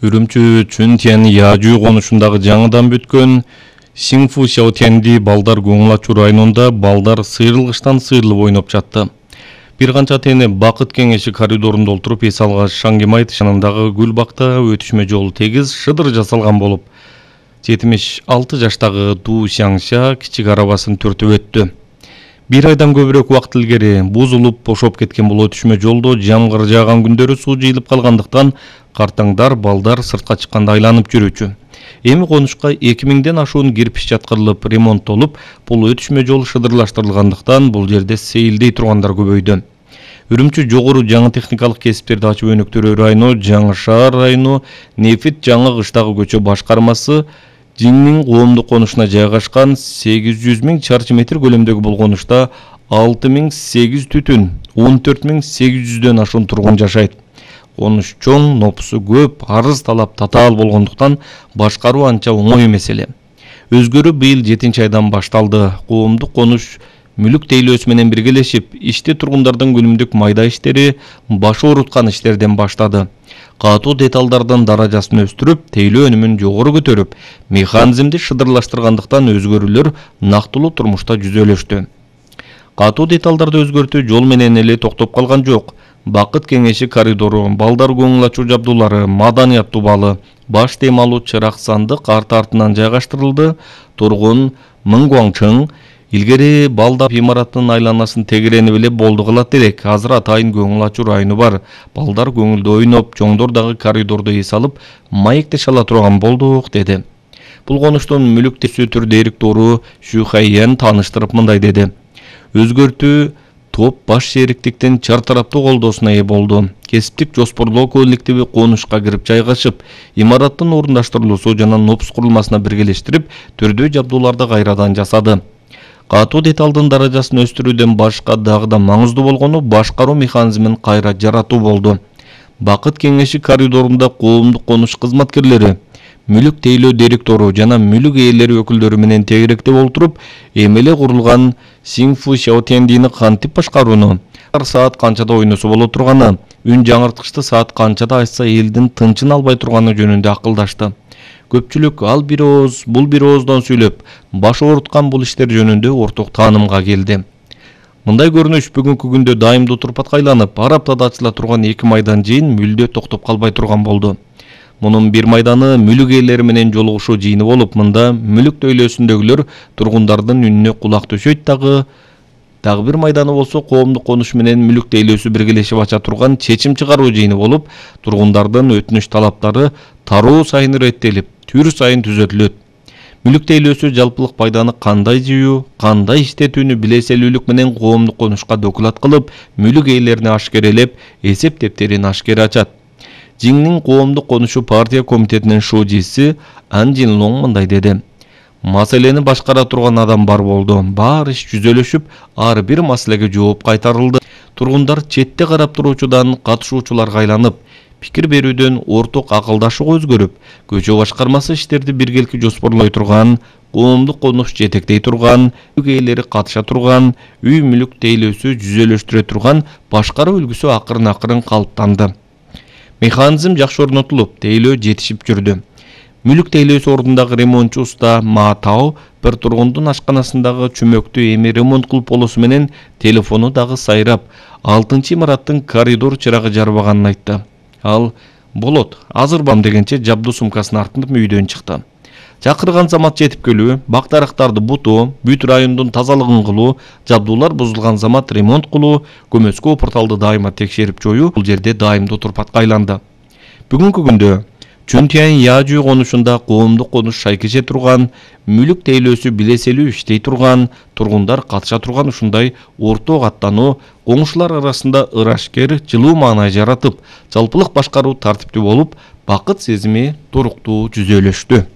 Үрүмчү Чүнтен Яжүү конушундагы жаңыдан бүткөн Сиңфу Шаотенди балдар көңүл ачуу районунда балдар сыйрылгычтан сыйрылып ойноп жатты. Бир канча тени Бакыт кеңеши коридорунда олтуруп эс алган Шаңгемайт шанындагы гүл бакта өтүшмө жолу тегиз шыдыр жасалган болуп, 76 жаштагы Ду Шаңша кичик арабасын төртүп өттү. Бир айдан көбүрөөк убакыт илгери бузулуп, бошоп кеткен бул өтүшмө жолдо жамгыр жааган күндөрү суу жыйылып калгандыктан картаңдар балдар сыртка чыкканда айланып жүрүүчү. Эми конушка 2000ден ашуун кирпич жаткырылып, ремонттолуп, бул өтүшмө жол шыдырлаштырылгандыктан бул жерде сейилдей тургандар көбөйдү. Үрүмчү жогору жаңы техникалык кесиптерди ачып өнүктүрүү району, Жаңы шаар району, Нефит жаңы кыштагы көчө башкармасы Жиңнин коомдук конушуна жайгашкан 800 000 чарчы метр көлөмдөгү бул конушта 6800 түтүн, 14800дөн ашуун тургун жашайт. Конуш чоң, нопусу көп, арыз талап татаал болгондуктан башкаруу анча оңой эмес эле. Өзгөрүү быйыл 7-айдан башталды. Коомдук конуш мүлүк тейлөөсү менен биргелешип, ишти тургундардын күнүмдүк майда иштери, башы ооруткан иштерден баштады. Катуу деталдардын даражасын өстүрүп, тейлөө өнүмүн жогору көтөрүп, механизмди шыдырлаштыргандыктан өзгөрүүлөр нактылуу турмушта жүзөлөштү. Катуу деталдарды өзгөртүү жол менен эле токтоп калган жок. Бакыт кеңеши коридору, балдар көңүл ачуу жабдуулары, маданият дубалы, баш демалуу чырак сандык арты артынан жайгаштырылды. Тургун Мын Гуаңчың илгери балдар имараттын айланасын тегеренип эле болду кылат элек. Азыр атайын көңүл ачуу району бар. Балдар көңүлдүү ойноп, чоңдор дагы коридордо эс алып, маектеш ала турган болдук, деди. Бул конуштун мүлүк тейлөөсү директору Шу Хайян тааныштырып мындай деди. Өзгөртүү топ баш шериктиктин чар тараптуу колдоосуна ээ болду. Кесиптик жоспорлоо коллективи конушка кирип жайгашып, имараттын орундаштырылуусу жана нопус курулмасына биргелештирип, түрдүү жабдууларды кайрадан жасады. Катуу деталдын даражасын өстүрүүдөн башка дагы да маңыздуу болгону башкаруу механизмин кайра жаратуу болду. Бакыт кеңеши коридорунда коомдук конуш кызматкерлери, мүлүк тейлөө директору жана мүлүк ээлери өкүлдөрү менен тегеректеп олтуруп, эми эле курулган Сиңфу Шаотендини кантип башкарууну, саат канчада ойносо боло турганы, үн жаңырткычты саат канчада ачса элдин тынчын албай турганы жөнүндө акылдашты. Көпчүлүк ал бир ооз, бул бир ооздон сүйлөп, баш ооруткан бул иштер жөнүндө орток таанымга келди. Мындай көрүнүш бүгүнкү күндө дайымдуу турпатка айланып, ар аптада ачыла турган 2 майдан жыйын мүлдө токтоп калбай турган болду. Мунун бир майданы мүлүк ээлери менен жолугушуу жыйыны болуп, мында мүлүк тейлөөсүндөгүлөр тургундардын үнүнө кулак төшөйт дагы бир майданы болсо коомдук конуш менен мүлүк тейлөөсү биргелешип ача турган чечим чыгаруу жыйыны болуп, тургундардын өтүнүч талаптары тароо сайын иреттелип, түр сайын түзөтүлөт. Мүлүк тейлөөсү жалпылык пайданы кандай жыюу, кандай иштетүүнү билеселүүлүк менен коомдук конушка доклад кылып, мүлүк ээлерине ашкерелеп, эсеп дептерин ашкере ачат. Жиңнин коомдук конушу партия комитетинин шужиси Ан Жин Лонг мындай деди. Маселени башкара турган адам бар болду. Баары иш жүзөлөшүп, ар бир маселеге жооп кайтарылды. Тургундар четте карап туруучудан катышуучуларга айланып, пикир берүүдөн орток акылдашууга өзгөрүп, көчө башкармасы иштерди биргеликти жоспорлой турган, коомдук конуш жетектей турган, мүлүк ээлери катыша турган, үй мүлүк тейлөөсү жүзөлөштүрө турган башкаруу үлгүсү акырын калыптанды. Механизм жакшы орнотулуп, тейлөө жетишип жүрдү. Мүлүк тейлөөсү ордундагы ремонтчу уста Ма Тао бир тургундун ашканасындагы чүмөктү эми ремонт кылып болуусу менен телефону дагы сайрап, 6-чы имараттын коридор чырагы жарбаганын айтты. Ал болот, азыр бам дегенче жабдуу сумкасын артынып үйдөн чыкты. Чакырган замат жетип келүү, бак дарактарды бутуу, бүт райондун тазалыгын кылуу, жабдуулар бузулган замат ремонт кылуу, көмөскө порталды дайыма текшерип жоюу бул жерде дайымдуу турпатка айланды. Бүгүнкү күндө Чүнтен Яжүү конушунда коомдук конуш шайкеше турган, мүлүк тейлөөсү билеселүү иштей турган, тургундар катыша турган ушундай орток аттануу коңшулар арасында ырашкер, жылуу маанай жаратып, жалпылык башкаруу тартиптүү болуп, бакыт сезими туруктуу жүзөлөштү.